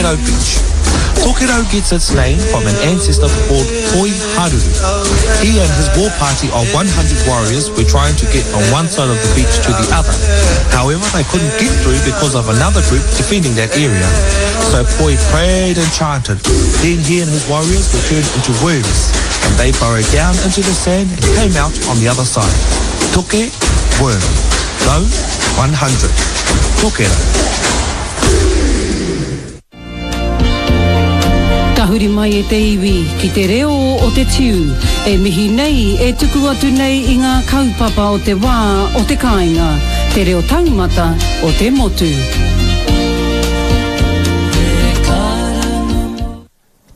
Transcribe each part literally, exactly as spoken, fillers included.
Tokerau Beach. Tokerau gets its name from an ancestor called Toi Haruru. He and his war party of one hundred warriors were trying to get from one side of the beach to the other. However, they couldn't get through because of another group defending that area. So Poi prayed and chanted. Then he and his warriors were turned into worms, and they burrowed down into the sand and came out on the other side. Toke, worm. Rau, one hundred. Tokerau. Tahuri mai e te iwi ki te reo o te tiu, e mihi nei, e tuku atu nei i ngā kaupapa o te wā o te kāinga, te reo taumata o te motu.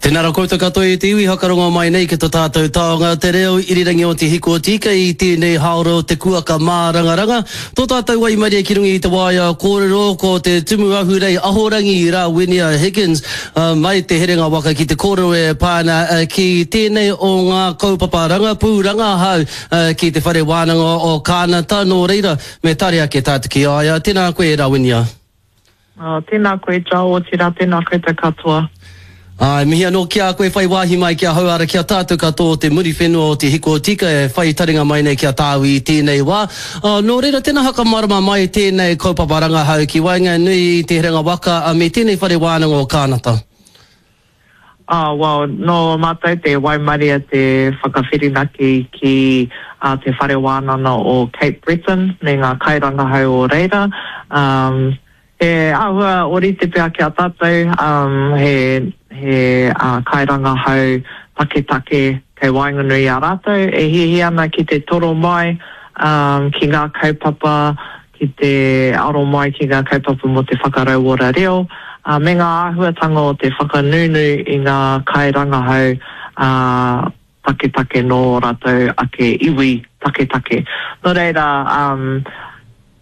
Tēnā rā koutou katoa e te iwi hakarongo mai nei ki tō tātou taonga te reo irirangi o te hiko tika i tēnei haora o te kuaka mārangaranga. Tō tātou waimarie ki runga i te waea kōrero ko te tumu ahurei ahorangi Rawinia Higgins uh, mai te herenga waka ki te kōrero e pāna uh, ki tēnei o ngā kaupapa rangapū rangahau uh, ki te whare wānanga o Kānata. Nō reira me tare ake tātou ki a ia. Tēnā koe Rawinia. Uh, tēnā koe Jao, otirā tēnā koutou katoa. Ai, mihi anō ki a koe whai wāhi mai ki a hauara ki a tātou katoa o te muri whenua o te hiko tika e whai taringa mai nei ki a tāu i tēnei wā. Uh, nō reira, tēnā hakamarama mai tēnei kaupapa rangahau ki waenganui i te herenga waka uh, me tēnei whare wānanga o Kānata. Ah, well, nō mātou te waimaria te whakawhirinaki ki uh, te whare wānanga o Cape Breton me ngā kairangahau o reira. Um, he āhua orite pea ki a tātou, um, he he uh, kairangahau taketake kei waenganui a rātou, e hihi ana ki te toro mai um, ki ngā kaupapa, ki te aro mai ki ngā kaupapa mō te whakarauora reo, uh, me ngā āhuatanga o te whakanunu i ngā kairangahau uh, taketake nō rātou ake iwi taketake. Nō reira, um,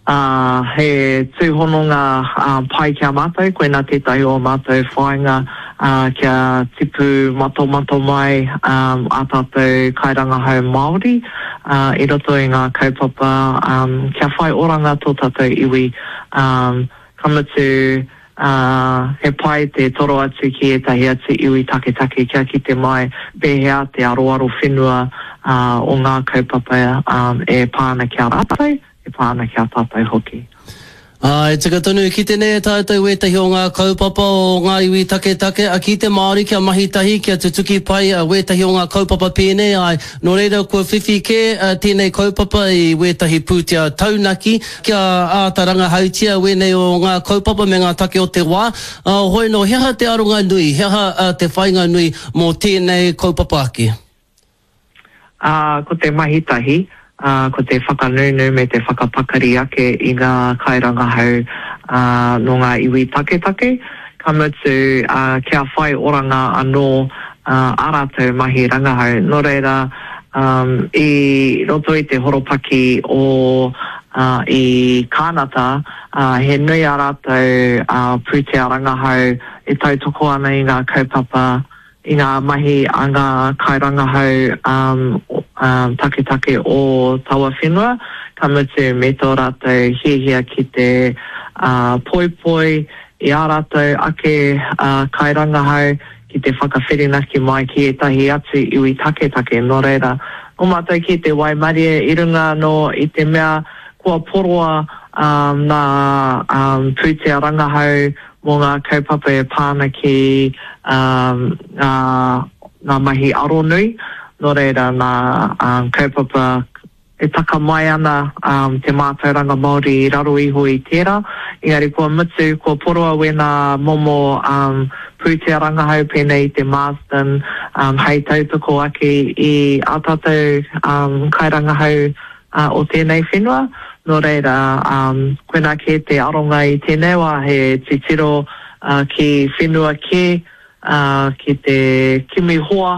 Uh, he tūhononga uh, pai ki a mātou, koina tētahi o mātou whāinga uh, kia tipu matomato mai um, a tātou kairangahau Māori uh, i roto i ngā kaupapa um, kia whai oranga tō tātou iwi. Um, ka mutu, uh, he pai te toro atu ki ētahi atu iwi taketake kia ki te mai pēhea te aroaro whenua uh, o ngā kaupapa um, e pāna ki a rātou, e pāna ki a tātou hoki. Ai, tika tonu ki te nei e tātou wētahi o ngā kaupapa o ngā iwi taketake, a ki te Māori kia mahi tahi, kia tutuki pai a wētahi o ngā kaupapa pēnei, ai, nō reira kua whiwhi kē a, tēnei kaupapa i wētahi pūtea taunaki, kia āta rangahautia wēnei o ngā kaupapa me ngā take o te wā. Uh, hoi no, he aha te aronga nui, he aha uh, te whainga nui mō tēnei kaupapa ake? Uh, ko te mahi tahi, Uh, ko te whakanunu me te whakapakari ake i ngā kairangahau uh, nō ngā iwi taketake. Ka mutu, uh, kia whai oranga anō uh, a rātou mahi rangahau. Nō reira, um, i roto i te horopaki o uh, i Kānata, uh, he nui a rātou uh, pūtea rangahau e tautoko ana i ngā kaupapa, i ngā mahi a ngā kairangahau um, um, taketake o taua whenua, ka mutu me tō rātou hiahia ki te uh, poipoi i a rātou ake uh, kairangahau ki te whakawhirinaki mai ki ētahi atu iwi taketake. Nō reira, o mātou ki te waimarie i runga anō i te mea kua poroa um, nā um, pūtea rangahau mō ngā kaupapa e pāna ki um, ngā, ngā mahi aronui. Nō reira, nā um, kaupapa e taka mai ana um, te mātauranga Māori i raro iho i tērā. Engari kua mutu, kua poroa wēnā momo um, pūtea rangahau pēnei i te Marsden um, hei tautoko ake i a tātou um, kairangahau uh, o tēnei whenua. Nō reira, um, koina kē te aronga i tēnei wā he titiro uh, ki whenua kē, uh, ki te kimi hoa,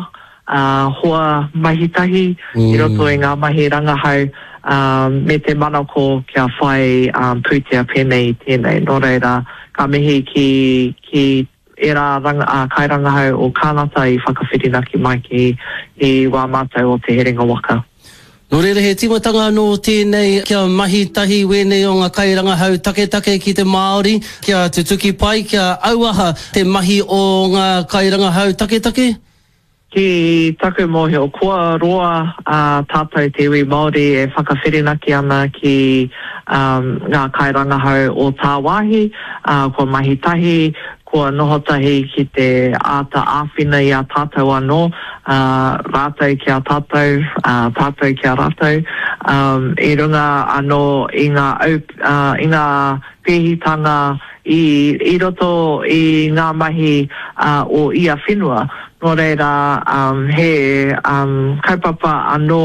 uh, hoa mahitahi mm. i roto i ngā mahi rangahau um, me te manako kia whai um, pūtea pēnei i tēnei. Nō reira, ka mihi ki, ki era ranga, uh, kairangahau o Kānata i whakawhirinaki mai ki i wā mātou o te herenga waka. Nō reira, he tīmatanga anō tēnei kia mahi tahi wēnei o ngā kairangahau taketake ki te Māori, kia tutuki pai, kia auaha te mahi o ngā kairangahau taketake? Ki taku mōhio, kua roa ā tātou te iwi Māori e whakawhirinaki ana ki ngā kairangahau o tāwāhi, kua mahi tahi, kua noho tahi ki te āta āwhina i a tātou anō, ā, rātou ki a tātou, ā, tātou ki a rātou, ā, i runga anō i ngā au, ā, i ngā pēhitanga i, i roto i ngā mahi, ā, o ia whenua. Nō reira, ā, he, ā, kaupapa anō,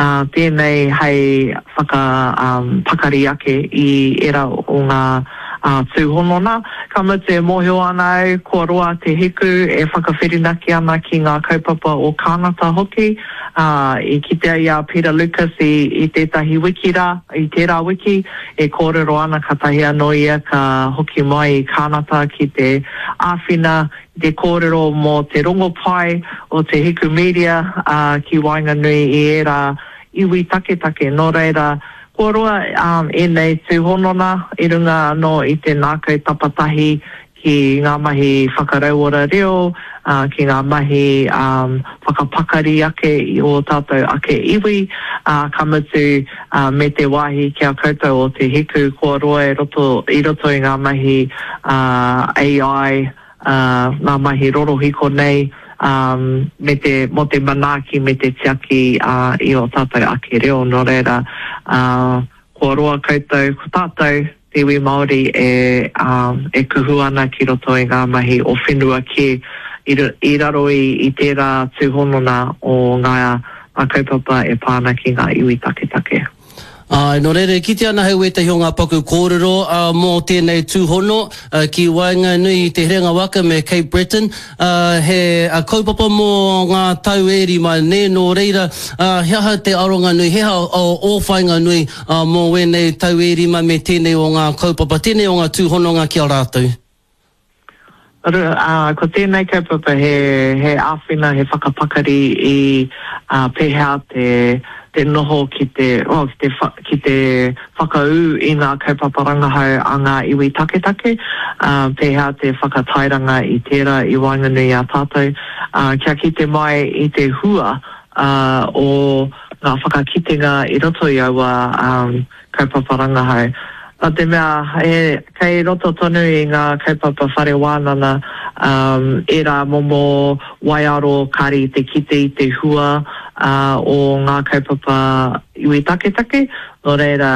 ā, tēnei hei whaka, ā, pakari ake i ērā o ngā, ā, tūhonona. Ka mutu e mōhio ana au kua roa te hiku e whakawhirinaki ana ki ngā kaupapa o Kānata hoki. Ā, i kitea i a Peter Lucas i, i tētahi wiki rā, i tērā wiki, e kōrero ana katahi anō ia ka hoki mai i Kānata ki te āwhina i te kōrero mō te rongopai o te Hiku Media, ā, ki waenganui i ērā iwi taketake. Nō reira, kua roa ēnei tūhonona i runga anō i te ngākau tapatahi ki ngā mahi whakarauora reo, ki ngā mahi whakapakari ake i ō tātou ake iwi, ka mutu me te wāhi ki a koutou o Te Hiku kua roa i roto i roto i ngā mahi AI, ā, ngā mahi rorohiko nei, ā, me te, mō te manaaki me te tiaki, ā, i ō tātou ake reo. Nō reira, ā, kua roa koutou, ko tātou, te iwi Māori e, ā, e kuhu ana ki roto i ngā mahi o whenua kē, i, i raro i, i tērā tūhonona o ngā, ngā kaupapa e pā ana ki ngā iwi taketake. Āe, nō reira, e kitea ana hei wētahi o ngā paku kōrero mō tēnei tūhono ki waenganui i Te Herenga Waka me Cape Breton, he kaupapa mō ngā tau e rima, nē, nō reira, he aha te aronga nui, he aha ō whāinga nui mō wēnei tau e rima me tēnei o ngā kaupapa, tēnei o ngā tūhononga ki a rātou? Ā, ko tēnei kaupapa he, he āwhina, he whakapakari i, ā, pēhea te, te noho ki te, well, ki te wha, ki te whakaū i ngā kaupapa rangahau a ngā iwi taketake, ā, pēhea te whakatairanga i tērā i waenganui i a tātou, ā, kia kite mai i te hua, ā, o ngā whakakitenga i roto i aua, ā, kaupapa rangahau. Nā te mea, he, kei roto tonu i ngā kaupapa whare wānana, um, ērā momo waiaro kāre i te kite i te hua, uh, o ngā kaupapa iwi taketake, nō reira,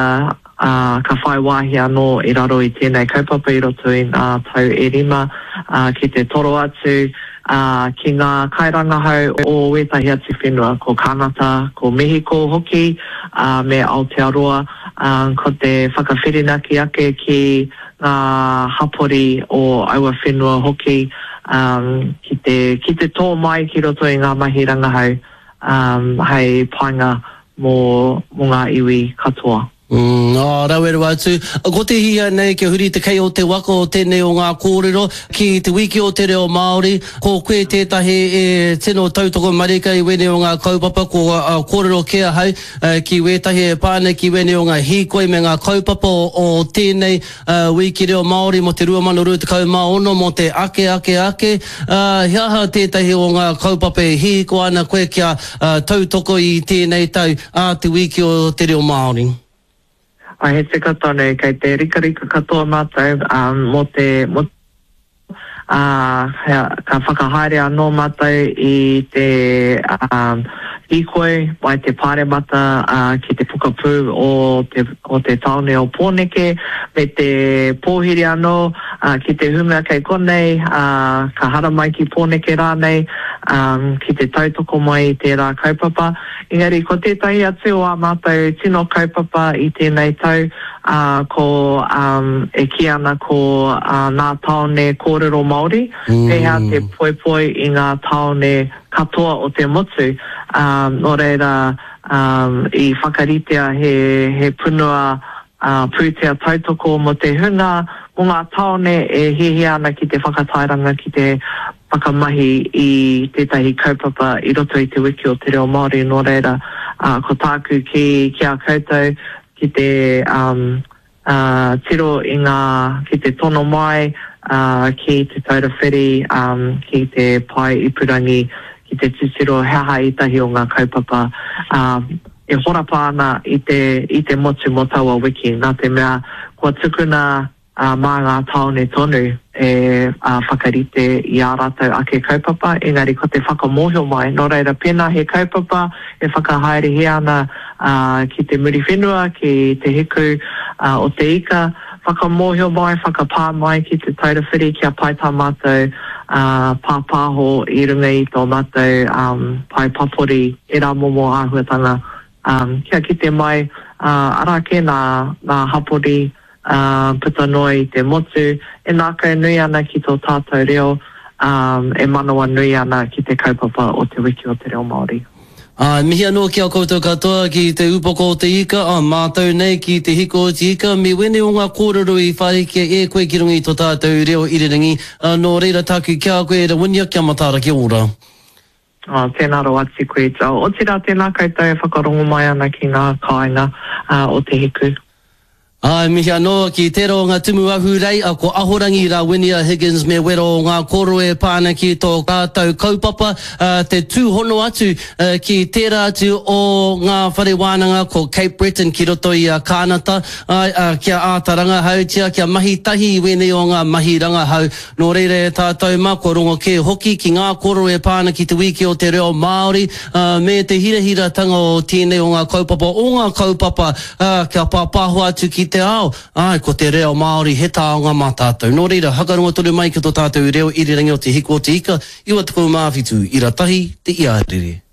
uh, ka whai wāhi anō i raro i tēnei kaupapa i roto i ngā tau e rima, uh, ki te toro atu, uh, ki ngā kairangahau o wētahi atu whenua, ko Kānata, ko Mehiko hoki, uh, me Aotearoa. ā, ko te whakawhirinaki ake ki ngā hapori o aua whenua hoki, ā, ki te, ki te tō mai ki roto i ngā mahi rangahau, ā, hei painga mō, mō ngā iwi katoa. Mm, ā, rawe rawa atu. Ko te hihia nei kia huri te kei o te waka o tēnei o ngā kōrero ki Te Wiki o Te Reo Māori, ko koe tētahi e tino tautoko marika i wēnei o ngā kaupapa, kua kōrero kē ahau, Ki wētahi e pā ana ki wēnei o ngā hīkoi me ngā kaupapa o tēnei wīki reo Māori mō te rua mano rua tekau mā ono mō te ake ake ake, he aha tētahi o ngā kaupapa e hīkoi ana koe kia tautoko i tēnei tau ā te wīki o te reo Māori? He tika tonu, kei te rikarika katoa mātou mō te, mō ā, ka whakahaere anō mātou i te hīkoi mai te Pāremata ki te pokapū o te, o te tāone o Pōneke, me te pōhiri anō ki te hunga kei konei, ā, ka haramai ki Pōneke rānei, ā, ki te tautoko mai i tērā kaupapa. Engari ko tētahi atu o ā mātou tino kaupapa i tēnei tau, ā, ko, ā, e kī ana ko, ā, nā tāone kōrero Māori, pēhea te poipoi i ngā tāone katoa o te motu, ā, nō reira, ā, i whakaritea he, he punua, ā, pūtea tautoko mō te hunga, mō ngā tāone e hiahia ana ki te whakatairanga, ki te whakamahi i tētahi kaupapa i roto i Te Wiki o te Reo Māori, nō reira, Ā, ko tāku ki, ki a koutou, ki te, um, ā, tiro i ngā, ki te tono mai, ā, ki Te Taura Whiri, um, ki te pae ipurangi, ki te titiro he aha ētahi o ngā kaupapa, ā, e horapa ana i te, i te motu mō taua wiki, nā te mea kua tukuna, ā, mā ngā tāone tonu e whakarite i ā rātou ake kaupapa, engari ko te whakamōhio mai, nō reira pēnā he kaupapa e whakahaerehia ana ki te Muriwhenua, ki Te Hiku o Te Ika, whakamōhio mai, whakapā mai ki Te Taura Whiri kia pai tā mātou pāpāho i runga i tō mātou pae papori, ērā momo āhuatanga, kia kite mai, arā kē nā hapori, ā, puta noa i te motu, e ngākau nui ana ki tō tātou reo, ā, e manawanui ana ki te kaupapa o Te Wiki o te Reo Māori. Ā, mihi anō ki a koutou katoa ki te upoko o te ika, ā, mātou nei ki te hiko o te ika, me wēnei o ngā kōrero i whārikia e koe ki runga i tō tātou reo irirangi, ā, nō reira tāku ki a koe, Rawinia, kia mataara, kia ora. Ā, tēnā rawa atu koe, Joel. Otirā, tēnā koutou e whakarongo mai ana ki ngā kāinga, ā, o Te Hiku. Ā, mihi anō ki tērā o ngā tumu ahurei, a ko Ahorangi Rawinia Higgins me wera o ngā koro e pā ana ki tō rātou kaupapa, ā, te tūhono atu ki tērā atu o ngā whare wānanga ko Cape Breton ki roto i a Kānata, āe, ā, kia āta rangahautia, kia mahi tahi i wēnei o ngā mahi rangahau. Nō reira e tātou mā, kua rongo kē hoki ki ngā koro e pā ana ki te wiki o te reo Māori, ā, me te hirahiratanga o tēnei o ngā kaupapa, o ngā kaupapa, ā, kia pāpāho atu ki te ao, āe, ko te reo Māori he taonga mā tātou. Nō reira, hakarongo tonu mai ki tō tātou reo irirangi o Te Hiku o Te Ika, iwa tekau mā whitu, ira tahi, te iarere.